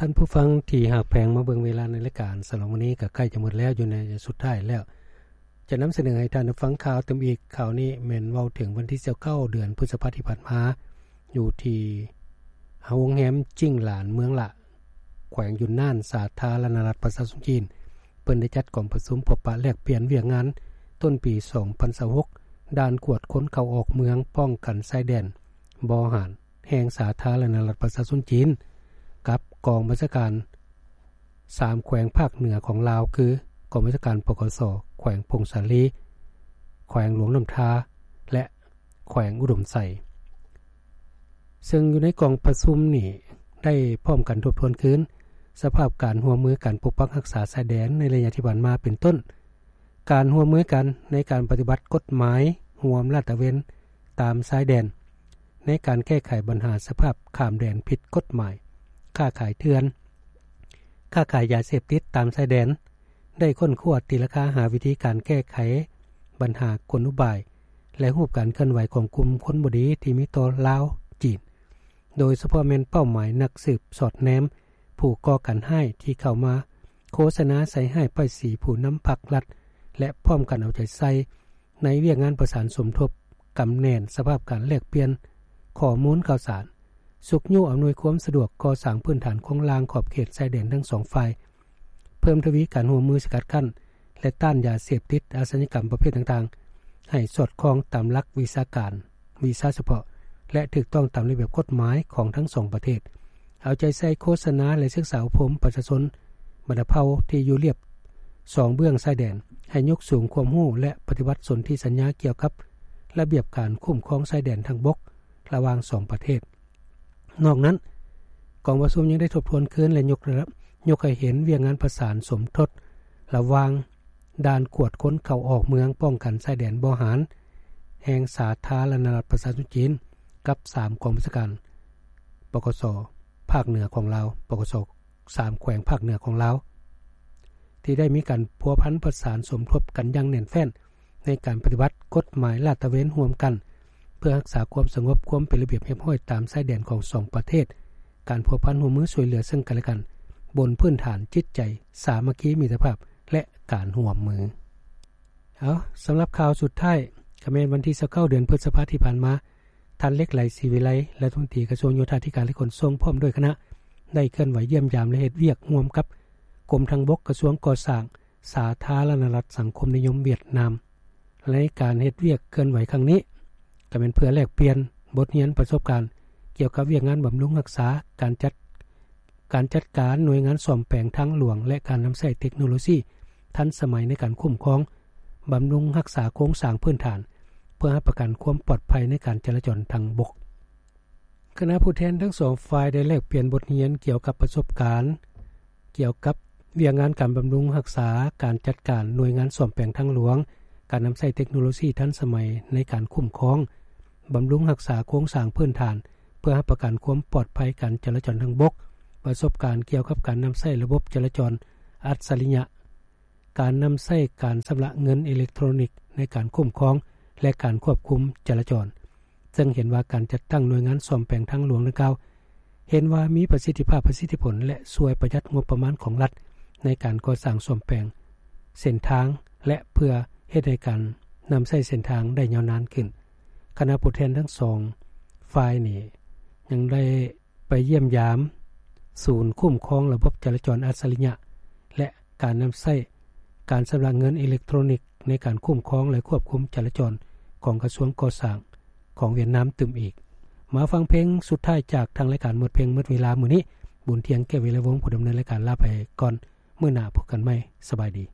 ທ່ານຜູ້ຟັງທີ່ຮັກແພງ, ມາເບິ່ງເວລາໃນລາຍການສຳລັບມື້ນີ້ກໍໃກ້ຈະໝົດແລ້ວ, ຢູ່ໃນໄລຍະສຸດທ້າຍແລ້ວ. ຈະນຳສະເໜີໃຫ້ທ່ານໄດ້ຟັງຂ່າວຕື່ມອີກ. ຂ່າວນີ້ແມ່ນເວົ້າເຖິງວັນທີຊາວເກົ້າ ເດືອນພຶດສະພາທີ່ຜ່ານມາ, ຢູ່ທີ່ໂຮງແຮມຈິງຫຼານ ເມືອງລະ, ແຂວງຢຸນນານ, ສາທາລະນະລັດປະຊາຊົນຈີນ. ເພິ່ນໄດ້ຈັດກອງປະຊຸມພົບປະແລກປ່ຽນວຽກງານຕົ້ນປີສອງພັນຊາວຫົກ ດ່ານກວດຄົນເຂົ້າອອກເມືອງ, ປ້ອງກັນຊາຍແດນບໍ່ຫານ ແຫ່ງສາທາລະນະລັດປະຊາຊົນຈີນ ກັບກອງບັນຊາການສາມແຂວງພາກເໜືອຂອງລາວ ຄື ກອງບັນຊາການ ປກສ ແຂວງຜົ້ງສາລີ, ແຂວງຫຼວງນ້ຳທາ ແລະ ແຂວງອຸດົມໄຊ. ເຊິ່ງຢູ່ໃນກອງປະຊຸມນີ້ ໄດ້ພ້ອມກັນທົບທວນຄືນສະພາບການຮ່ວມມືການປົກປັກຮັກສາຊາຍແດນໃນໄລຍະທີ່ຜ່ານມາ ເປັນຕົ້ນ ການຮ່ວມມືກັນໃນການປະຕິບັດກົດໝາຍຮ່ວມລາດຕະເວນຕາມຊາຍແດນ, ໃນການແກ້ໄຂບັນຫາສະພາບຂ້າມແດນຜິດກົດໝາຍ, ຄ້າຂາຍເຖື່ອນ, ຄ້າຂາຍຢາເສບຕິດຕາມຊາຍແດນ, ໄດ້ຄົ້ນຄວ້າຕີລາຄາຫາວິທີການແກ້ໄຂບັນຫາກົນອຸບາຍ ແລະ ຮູບການເຄື່ອນໄຫວຂອງກຸ່ມຄົນບໍ່ດີທີ່ມີຕໍ່ລາວ, ຈີນ, ໂດຍສະເພາະແມ່ນເປົ້າໝາຍນັກສືບສອດແນມຜູ້ກໍ່ການຮ້າຍທີ່ເຂົ້າມາໂຄສະນາໃສ່ຮ້າຍປ້າຍສີຜູ້ນຳພັກລັດ ແລະ ພ້ອມກັນເອົາໃຈໃສ່ໃນວຽກງານປະສານສົມທົບ, ກຳແໜ້ນສະພາບການແລກປ່ຽນຂໍ້ມູນຂ່າວສານ, ຊຸກຍູ້ອຳນວຍຄວາມສະດວກກໍ່ສ້າງພື້ນຖານໂຄງລ່າງຂອບເຂດຊາຍແດນທັງສອງຝ່າຍ, ເພີ່ມທະວີການຮ່ວມມືສະກັດກັ້ນ ແລະ ຕ້ານຢາເສບຕິດ, ອາຊະຍາກຳປະເພດຕ່າງໆ ໃຫ້ສອດຄ່ອງຕາມຫຼັກວິຊາການ, ວິຊາສະເພາະ ແລະ ຖືກຕ້ອງຕາມລະບຽບກົດໝາຍຂອງທັງສອງປະເທດ. ເອົາໃຈໃສ່ໂຄສະນາ ແລະ ສຶກສາອົບຮົມປະຊາຊົນບັນດາເຜົ່າທີ່ຢູ່ລຽບສອງເບື້ອງຊາຍແດນ ໃຫ້ຍົກສູງຄວາມຮູ້ ແລະ ປະຕິບັດສົນທິສັນຍາກ່ຽວກັບລະບຽບການຄຸ້ມຄອງຊາຍແດນທາງບົກລະຫວ່າງສອງປະເທດ. ນອກນັ້ນ, ກອງປະຊຸມຍັງໄດ້ທົບທວນຄືນ ແລະ ຍົກລະດັບ, ຍົກໃຫ້ເຫັນວຽກງານປະສານສົມທົບລະຫວ່າງດ່ານກວດຄົນເຂົ້າອອກເມືອງ, ປ້ອງກັນຊາຍແດນບໍ່ຫານແຫ່ງສາທາລະນະລັດປະຊາຊົນຈີນ ກັບສາມກອງບັນຊາການ ປກສ ພາກເໜືອຂອງລາວ, ປກສ ສາມແຂວງພາກເໜືອຂອງລາວ ທີ່ໄດ້ມີການພົວພັນປະສານສົມທົບກັນຢ່າງແໜ້ນແຟ້ນ ໃນການປະຕິບັດກົດໝາຍລາດຕະເວນຮ່ວມກັນ ເພື່ອຮັກສາຄວາມສະຫງົບ, ຄວາມເປັນລະບຽບຮຽບຮ້ອຍຕາມຊາຍແດນຂອງສອງປະເທດ, ການພົວພັນຮ່ວມມືຊ່ວຍເຫຼືອເຊິ່ງກັນແລະກັນ ບົນພື້ນຖານຈິດໃຈສາມັກຄີມິດຕະພາບ ແລະ ການຮ່ວມມື. ເອົາ, ສຳລັບຂ່າວສຸດທ້າຍ ກໍແມ່ນວັນທີຊາວເກົ້າ ເດືອນພຶດສະພາທີ່ຜ່ານມາ, ທ່ານ ເລັກໄຫຼ ສີວິໄລ, ລັດຖະມົນຕີກະຊວງໂຍທາທິການ ແລະ ຂົນສົ່ງ ພ້ອມດ້ວຍຄະນະ ໄດ້ເຄື່ອນໄຫວຢ້ຽມຢາມ ແລະ ເຮັດວຽກຮ່ວມກັບກົມທາງບົກ, ກະຊວງກໍ່ສ້າງ, ສາທາລະນະລັດສັງຄົມນິຍົມຫວຽດນາມ. ໃນການເຮັດວຽກເຄື່ອນໄຫວຄັ້ງນີ້ ກໍແມ່ນເພື່ອແລກປ່ຽນບົດຮຽນປະສົບການກ່ຽວກັບວຽກງານບຳລຸງຮັກສາ, ການຈັດ ການຈັດການໜ່ວຍງານສ້ອມແປງທາງຫຼວງ ແລະ ການນຳໃຊ້ເຕັກໂນໂລຊີທັນສະໄໝໃນການຄຸ້ມຄອງ, ບຳລຸງຮັກສາໂຄງສ້າງພື້ນຖານ ເພື່ອຮັບປະກັນຄວາມປອດໄພໃນການຈະລາຈອນທາງບົກ. ຄະນະຜູ້ແທນທັງສອງຝ່າຍໄດ້ແລກປ່ຽນບົດຮຽນກ່ຽວກັບປະສົບການ ກ່ຽວກັບວຽກງານການບຳລຸງຮັກສາ, ການຈັດການໜ່ວຍງານສ້ອມແປງທາງຫຼວງ, ການນຳໃຊ້ເຕັກໂນໂລຊີທັນສະໄໝໃນການຄຸ້ມຄອງ, ບຳລຸງຮັກສາໂຄງສ້າງພື້ນຖານ ເພື່ອຮັບປະກັນຄວາມປອດໄພການຈະລາຈອນທາງບົກ, ປະສົບການກ່ຽວກັບການນຳໃຊ້ລະບົບຈະລາຈອນອັດສະລິຍະ, ການນຳໃຊ້ການຊຳລະເງິນເອເລັກໂທຣນິກໃນການຄຸ້ມຄອງ ແລະ ການຄວບຄຸມຈະລາຈອນ, ເຊິ່ງເຫັນວ່າການຈັດຕັ້ງໜ່ວຍງານສ້ອມແປງທາງຫຼວງດັ່ງກ່າວ ເຫັນວ່າມີປະສິດທິພາບ, ປະສິດທິຜົນ ແລະ ຊ່ວຍປະຢັດງົບປະມານຂອງລັດໃນການກໍ່ສ້າງສ້ອມແປງເສັ້ນທາງ ແລະ ເພື່ອເຮັດໃຫ້ການນຳໃຊ້ເສັ້ນທາງໄດ້ຍາວນານຂຶ້ນ. ຄະນະຜູ້ແທນທັງສອງຝ່າຍນີ້ຍັງໄດ້ໄປຢ້ຽມຢາມສູນຄຸ້ມຄອງລະບົບຈະລາຈອນອັດສະລິຍະ ແລະ ການນຳໃຊ້ການຊຳລະເງິນເອເລັກໂທຣນິກໃນການຄຸ້ມຄອງ ແລະ ຄວບຄຸມຈະລາຈອນຂອງກະຊວງກໍ່ສ້າງຂອງຫວຽດນາມຕື່ມອີກ. ມາຟັງເພງສຸດທ້າຍຈາກທາງລາຍການໝົດເພງໝົດເວລາມື້ນີ້. ບຸນທຽງ ແກ້ວວິໄລວົງ ຜູ້ດຳເນີນລາຍການ ລາໄປກ່ອນ. ມື້ໜ້າພົບກັນໃໝ່. ສະບາຍດີ.